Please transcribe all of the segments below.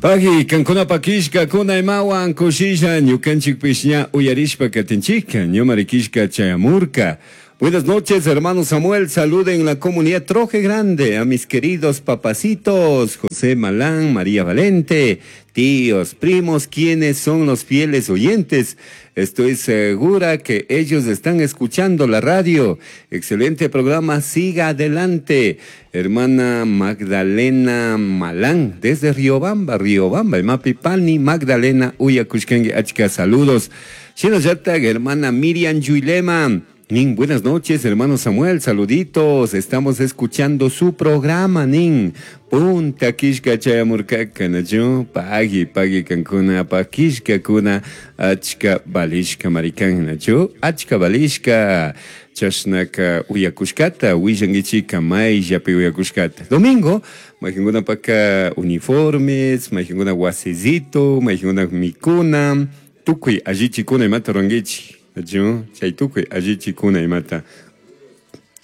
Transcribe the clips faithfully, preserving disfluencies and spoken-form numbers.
Pagi, kankunapa killkakuna imawan kushilla ñukanchikpish ña uyarishpa katinchika ñumari killka chayamurka. Buenas noches, hermano Samuel. Saluden la comunidad Troje Grande a mis queridos papacitos, José Malán, María Valente, tíos, primos, quienes son los fieles oyentes. Estoy segura que ellos están escuchando la radio. Excelente programa, siga adelante. Hermana Magdalena Malán, desde Riobamba, Riobamba, el Mapipani, Magdalena Uyakushkengue, achka, saludos. Shinallatak, hermana Miriam Yuilema. Nin, buenas noches, hermano Samuel, saluditos. Estamos escuchando su programa, Nin. Punta kishka chayamurkaka, nachu? Pagi, pagi kankuna, pa kishka kuna, achka balishka marikan, nachu? Achka balishka. Chashnaka uyakushkata, willankichika mayllapi uyakushkata. Domingo, mayqinkuna paka uniformes, mayqinkuna wasizito, mayqinkuna mikuna, tukuy allichikuna imata rurankichik. Nachu? Chay tukuy allichikuna imata.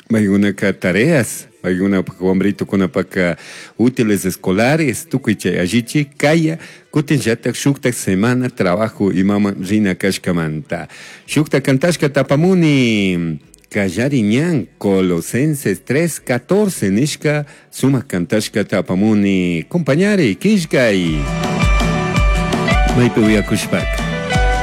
Mayqinkunaka tareas, mayqinkunapaka wambritukunapaka útiles escolares, tukuy chay allichi kaya, kutinllatak shuktak semana trabajo imaman rina kashkamanta. Shukta kantashka tapamuni. Kallari ñan, Colosenses tres catorce nishka, sumak kantashka tapamuni. Compañari, killkay. Maypi uyakushpaka.